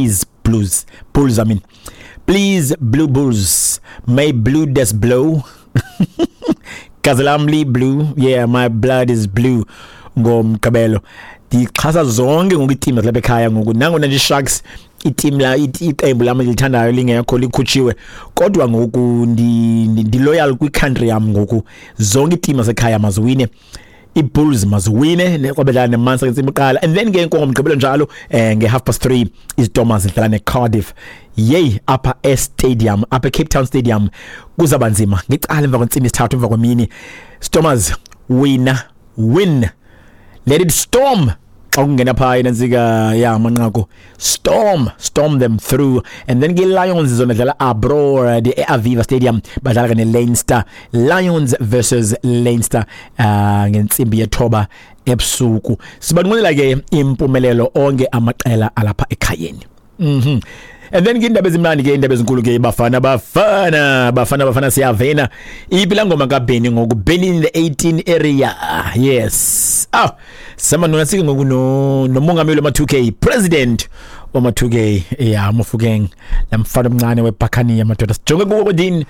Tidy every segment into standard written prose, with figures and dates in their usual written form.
Please blues bulls, I mean, please blue bulls, may blue des blow. Gazi lam li-blue, yeah, my blood is blue. Ngomgqibelo ndixhasa zonke ngoku iitim zalapha ekhaya ngoku, nangona nje i-Sharks, itim la, iqembu lam elithandayo, lingekho, likhutshiwe, kodwa ngoku ndi-loyal kwi-country yam. Ngoku zonke iitim zasekhaya maziwine, iBulls maziwine kwabedlala neMunster ngentsimbi yokuqala, and then ke ngomgqibelo njalo nge-3:30 iStormers zidlala neCardiff. Yey, apha e-stadium, apha eCape Town Stadium, kuzaba nzima ngecala emva kwentsimbi yesithathu emva kwemini. Stormers, wina, win, let it storm. Xa kungena phaa inantsika ya amanqaku, storm, storm them through. And then ke Lions zona dlala abroad e-Aviva Stadium, badlala ke ne-Leinster, Lions versus Leinster ngentsimbi yethoba ebusuku. Sibanqwenela ke impumelelo onke amaqela alapha ekhayeni. And then ke indaba ezimnandi ke, indaba ezinkulu ke, Bafana Bafana Bafana Bafana, siyavena. Iphi laa ngoma kaBenny ngoku? Benny in the 18 area, yes. Ah, samanona sike ngoku no nomongameli wama-2K, president wama-2K ya Mofokeng, lamfana omncane weBhakaniya madoda. Sijonge kuwo kodini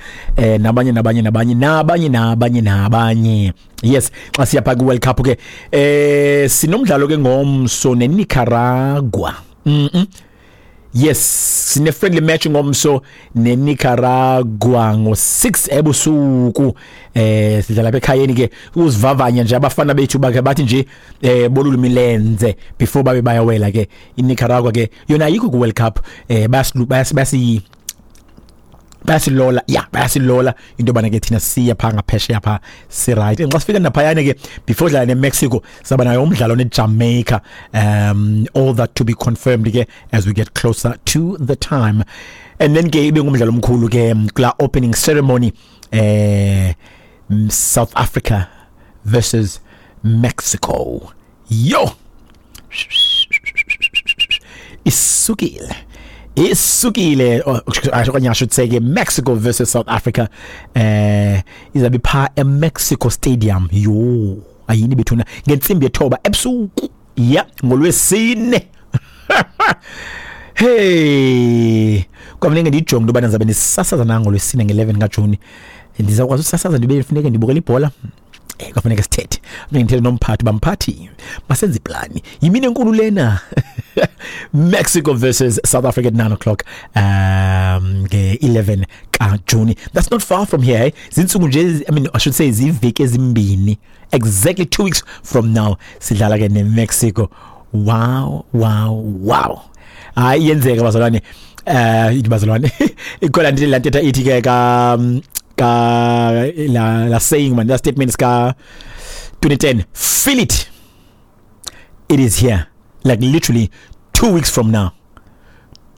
nabanye nabanye nabanye nabanye nabanye nabanye. Yes, xa siya phaa kwi-World Cup ke, sinomdlalo ke ngomso neNicaragua. Yes, sine friendly match ngomso neNicaragua ngo6 ebusuku. Sidlala lapha ekhayeni ke, uzivavanya nje abafana bethu, bakhe bathi nje bolula imilenze before babe bayawela ke. INicaragua ke yona ayikho ku World Cup, bayasilu bayasi bayasilola, ya, bayasilola into yobana ke thina siya phaa ngaphesheya phaa, si-right. And xa sifika naphayana ke, before dlala neMexico, saba nayo umdlalo neJamaica. All that to be confirmed ke as we get closer to the time. And then ke ibe ngumdlalo omkhulu ke kula opening ceremony, South Africa versus Mexico. Yo, isukile, isukile, okanye I should say ke Mexico versus South Africa, izabe pha eMexico Stadium. Yo, ayini bethuna, ngentsimbi yethoba ebusuku, ya, ngolwesine. Hey, kwafuneka ndiyijonge into yobana ndizabe ndisasaza na ngolwesine nge-11 kaJuni, ndizawukwazi usasaza ndibe funeke ndibukela ibhola. Kwafuneka sithethe, funeka ndithethe nomphathi, bamphathi masenze iplani, yimini enkulu lena. Mexico versus South Africa at 9 o'clock nge-11 kaJuni. That's not far from here, eh? Zintsuku nje, I mean, I should say ziveki ezimbini, exactly 2 weeks from now sidlala ke neMexico. Wow, hayi, iyenzeka bazalwane, ithi bazalwane, ikhona nje la ntetha ithi ke ka la saying man, la statement ka 2010, feel it, it is here. Like literally 2 weeks from now,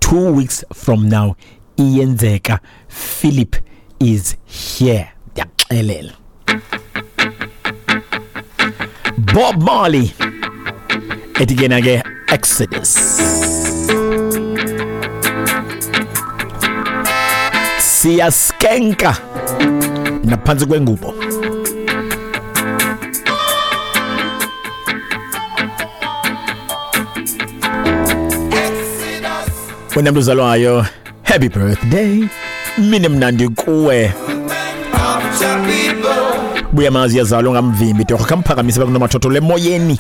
2 weeks from now iyenzeka. Philip is here, ndiyaxelela. Bob Marley ethi ke na ke Exodus. Siyaskenka naphantsi kwengubo. Wena mntu uzalwayo, happy birthday, mini mnandi kuwe. Buya mazi yazalwa ngamvimbi torho, khamphakamise bakunomathotholo emoyeni.